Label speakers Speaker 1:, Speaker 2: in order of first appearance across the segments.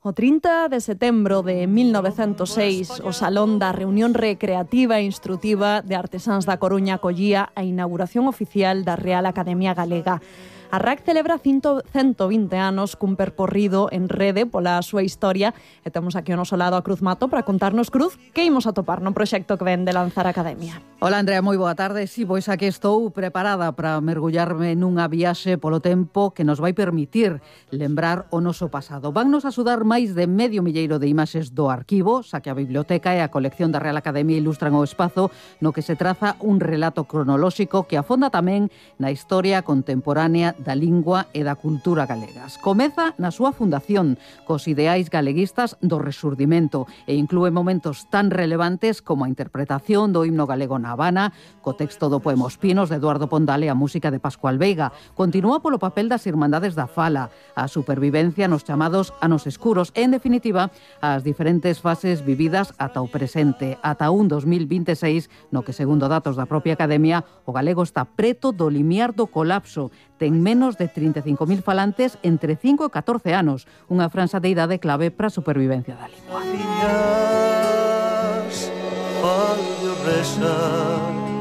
Speaker 1: O 30 de setembro de 1906, o Salón da Reunión Recreativa e Instrutiva de Artesáns da Coruña acollía a inauguración oficial da Real Academia Galega. A RAC celebra 120 anos cun percorrido en rede pola súa historia e temos aquí ao noso lado a Cruz Mato para contarnos, Cruz, que imos atopar no proxecto que ven de lanzar a Academia.
Speaker 2: Hola, Andrea, moi boa tarde. Si, pois aquí estou preparada para mergullarme nunha viaxe polo tempo que nos vai permitir lembrar o noso pasado. Vannos axudar máis de medio milleiro de imaxes do arquivo, xa que a biblioteca e a colección da Real Academia ilustran o espazo no que se traza un relato cronolóxico que afonda tamén na historia contemporánea da lingua e da cultura galegas. Comeza na súa fundación, cos ideais galeguistas do Resurdimento, e inclúe momentos tan relevantes como a interpretación do himno galego na Habana, co texto do poema Os Pinos de Eduardo Pondal e a música de Pascual Veiga. Continúa polo papel das Irmandades da Fala, a supervivencia nos chamados anos escuros e, en definitiva, as diferentes fases vividas ata o presente, ata un 2026, no que, segundo datos da propia Academia, o galego está preto do limiar do colapso. Ten menos de 35.000 falantes entre 5 e 14 anos, unha franxa de idade clave para a supervivencia da lingua.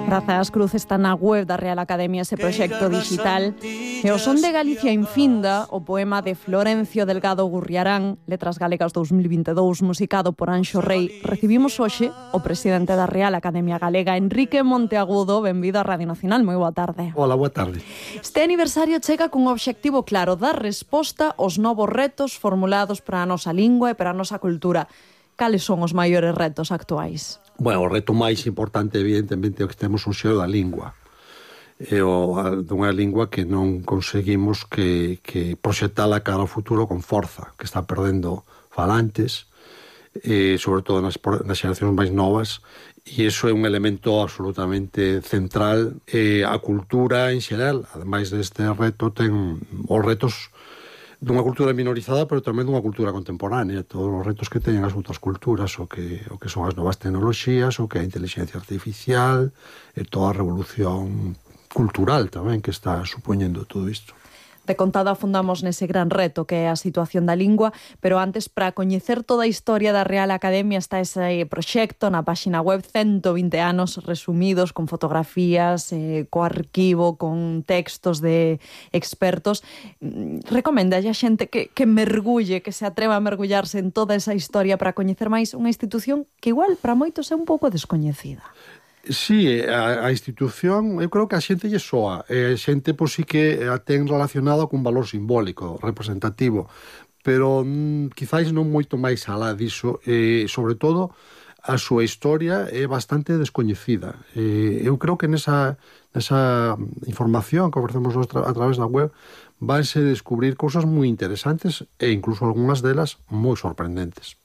Speaker 1: Grazas, Cruz, está na web da Real Academia ese proxecto digital. E o Son de Galicia infinda, o poema de Florencio Delgado Gurriarán, Letras Galegas 2022, musicado por Anxo Rei. Recibimos hoxe o presidente da Real Academia Galega, Enrique Monteagudo. Benvido á Radio Nacional, moi boa tarde.
Speaker 3: Hola, boa tarde.
Speaker 1: Este aniversario chega cun obxectivo claro, dar resposta aos novos retos formulados para a nosa lingua e para a nosa cultura. Cales son os maiores retos actuais?
Speaker 3: Bueno, o reto máis importante, evidentemente, é o que temos un xeo da lingua. É dunha lingua que non conseguimos que proxectala cara ao futuro con forza, que está perdendo falantes, sobre todo nas xeracións máis novas, e iso é un elemento absolutamente central. A cultura en xeral, ademais deste reto, ten os retos dunha cultura minorizada, pero tamén dunha cultura contemporánea, todos os retos que teñen as outras culturas, o que son as novas tecnoloxías, o que é a inteligencia artificial, e toda a revolución cultural tamén que está supoñendo todo isto.
Speaker 1: De contada afundamos nese gran reto que é a situación da lingua, pero antes, para coñecer toda a historia da Real Academia, está ese proxecto na páxina web, 120 anos resumidos, con fotografías, co arquivo, con textos de expertos. Recomenda a xente que mergulle, que se atreva a mergullarse en toda esa historia para coñecer máis unha institución que igual para moitos é un pouco descoñecida.
Speaker 3: Sí, a institución, eu creo que a xente lle soa. A xente, pois, sí que a ten relacionado cun valor simbólico, representativo, pero quizáis non moito máis alá diso. Sobre todo, a súa historia é bastante descoñecida. Eu creo que nesa información que ofrecemos a través da web vanse descubrir cousas moi interesantes e incluso algunhas delas moi sorprendentes.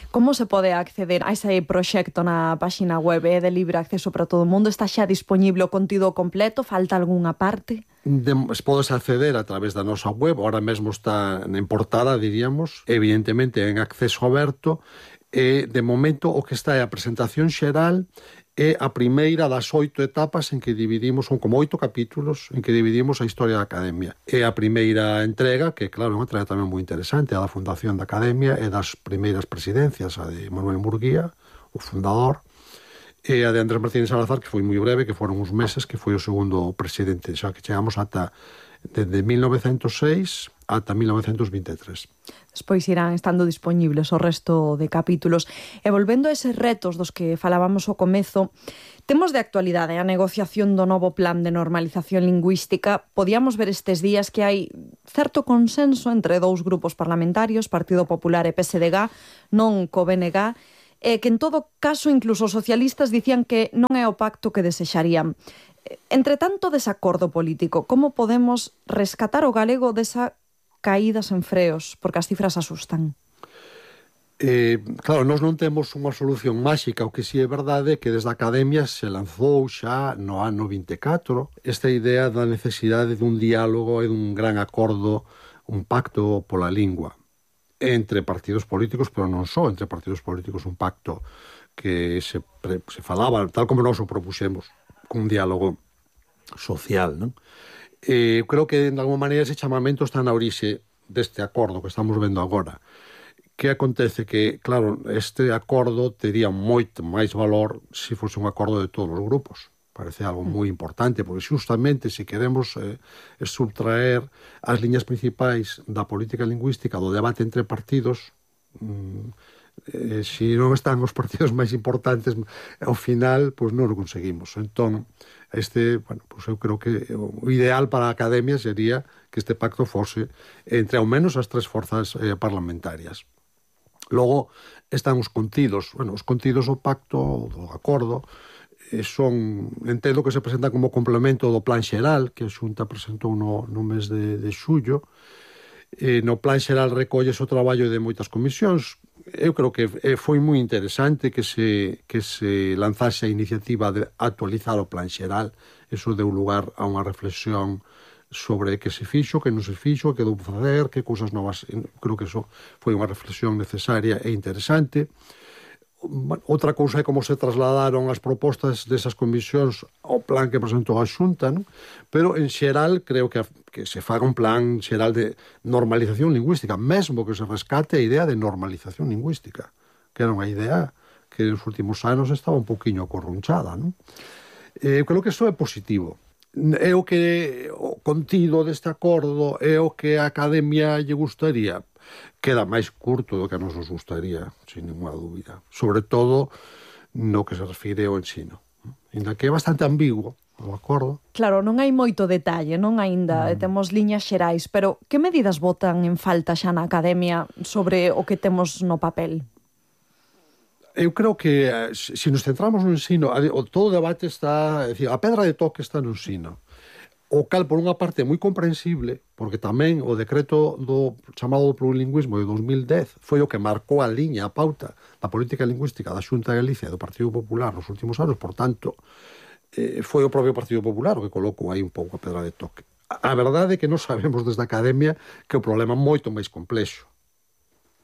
Speaker 1: Como se pode acceder a ese proxecto na páxina web? É de libre acceso para todo o mundo? Está xa disponible o contido completo? Falta algunha parte?
Speaker 3: Podes acceder a través da nosa web. Ahora mesmo está en portada, diríamos, evidentemente en acceso aberto. De momento o que está é a presentación xeral, é a primeira das 8 etapas en que dividimos, son como 8 capítulos en que dividimos a historia da Academia. É a primeira entrega, que claro, é unha entrega tamén moi interesante, a da fundación da Academia e das primeiras presidencias, a de Manuel Murguía, o fundador, e a de Andrés Martínez Salazar, que foi moi breve, que foron uns meses, que foi o segundo presidente, xa que chegamos ata desde 1906 ata 1923.
Speaker 1: Despois irán estando disponibles o resto de capítulos. E volvendo a eses retos dos que falábamos ao comezo, temos de actualidade a negociación do novo plan de normalización lingüística. Podíamos ver estes días que hai certo consenso entre dous grupos parlamentarios, Partido Popular e PSDG, non co BNG, que en todo caso incluso os socialistas dicían que non é o pacto que desexarían. Entre tanto desacordo político, como podemos rescatar o galego desa caída sen freos, porque as cifras asustan?
Speaker 3: Claro, nós non temos unha solución máxica. O que si é verdade é que desde a Academia se lanzou xa no ano 24 esta idea da necesidade dun diálogo e dun gran acordo, un pacto pola lingua entre partidos políticos, pero non só entre partidos políticos, un pacto que se falaba, tal como nós o propuxemos, cun diálogo social, non? Creo que, de alguma maneira, ese chamamento está na orixe deste acordo que estamos vendo agora. Que acontece que, claro, este acordo tería moito máis valor se fose un acordo de todos os grupos. Parece algo moi importante, porque justamente se queremos subtraer as liñas principais da política lingüística do debate entre partidos, se non están os partidos máis importantes, ao final, pois non o conseguimos. Entón, pois eu creo que o ideal para a academia sería que este pacto fose entre ao menos as tres forzas parlamentarias. Logo, están os contidos. Os contidos do pacto, do acordo, entendo que se presentan como complemento do plan xeral que a Xunta presentou no mes de xullo. No plan xeral recollese o traballo de moitas comisións. Eu creo que foi moi interesante que se lanzase a iniciativa de actualizar o plan xeral. Eso deu lugar a unha reflexión sobre que se fixo, que non se fixo, que deu facer, que cousas novas. Creo que eso foi unha reflexión necesaria e interesante. Outra cousa é como se trasladaron as propostas desas comisións ao plan que presentou a Xunta, non? Pero en xeral creo que se faga un plan xeral de normalización lingüística, mesmo que se rescate a idea de normalización lingüística, que era unha idea que nos últimos anos estaba un poquinho acorrunchada, non? Creo que iso é positivo. É o contido deste acordo, é o que a academia lle gustaría. Queda máis curto do que a nos gustaría, sin ninguna dúbida. Sobre todo no que se refire ao ensino. Ainda que é bastante ambiguo o acordo.
Speaker 1: Claro, non hai moito detalle, non aínda temos liñas xerais, pero que medidas botan en falta xa na academia sobre o que temos no papel?
Speaker 3: Eu creo que se nos centramos no ensino, todo o debate está, é dicir, a pedra de toque está no ensino. O cal, por unha parte, é moi comprensible, porque tamén o decreto chamado do plurilingüismo de 2010 foi o que marcou a liña, a pauta da política lingüística da Xunta de Galicia e do Partido Popular nos últimos anos, por tanto, foi o propio Partido Popular o que colocou aí un pouco a pedra de toque. A verdade é que non sabemos desde a academia que o problema é moito máis complexo.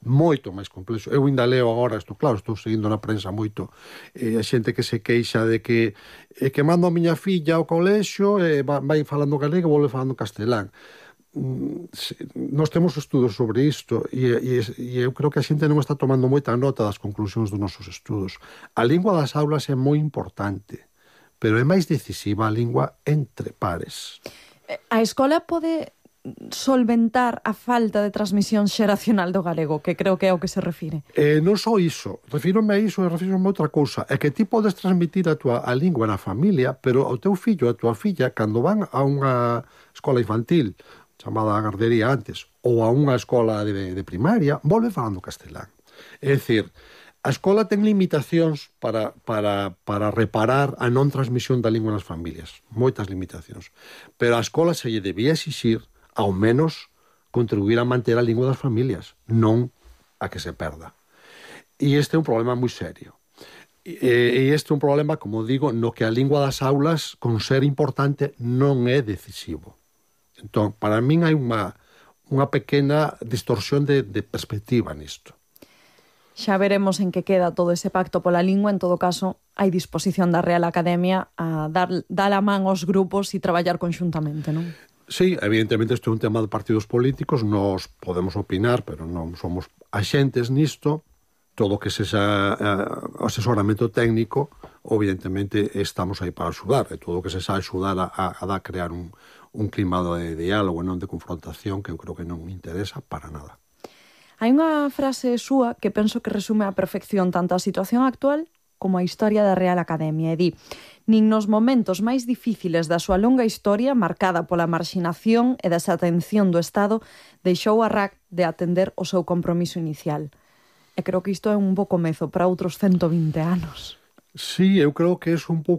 Speaker 3: Moito máis complexo. Eu ainda leo agora, estou seguindo na prensa moito a xente que se queixa de que mando a miña filla ao colexio vai falando galego e volve falando castelán. Nós temos estudos sobre isto e eu creo que a xente non está tomando moita nota das conclusións dos nosos estudos. A lingua das aulas é moi importante, pero é máis decisiva a lingua entre pares.
Speaker 1: A escola pode solventar a falta de transmisión xeracional do galego, que creo que é o que se refire.
Speaker 3: Non só iso, refírome a iso e refírome a outra cousa, é que ti podes transmitir a lingua na familia, pero ao teu fillo, a tua filla, cando van a unha escola infantil, chamada gardería antes, ou a unha escola de primaria, volve falando castelán. É dicir, a escola ten limitacións para reparar a non transmisión da lingua nas familias, moitas limitacións, pero a escola se lle debía exixir ao menos contribuir a manter a lingua das familias, non a que se perda. E este é un problema moi serio. E este é un problema, como digo, no que a lingua das aulas, con ser importante, non é decisivo. Entón, para min hai unha pequena distorsión de perspectiva nisto.
Speaker 1: Xa veremos en que queda todo ese pacto pola lingua. En todo caso, hai disposición da Real Academia a dar a man aos grupos e traballar conxuntamente, non?
Speaker 3: Sí, evidentemente isto é un tema de partidos políticos, nós podemos opinar, pero non somos axentes nisto. Todo o que sexa asesoramento técnico, evidentemente estamos aí para axudar, e todo o que sexa axudar a crear un clima de diálogo e non de confrontación, que eu creo que non me interesa para nada.
Speaker 1: Hai unha frase súa que penso que resume a perfección tanto a situación actual como a historia da Real Academia, e di: nin nos momentos máis difíciles da súa longa historia, marcada pola marxinación e desatención do Estado, deixou a RAC de atender o seu compromiso inicial. E creo que isto é un bo comezo para outros 120 anos.
Speaker 3: Sí, eu creo que é un pouco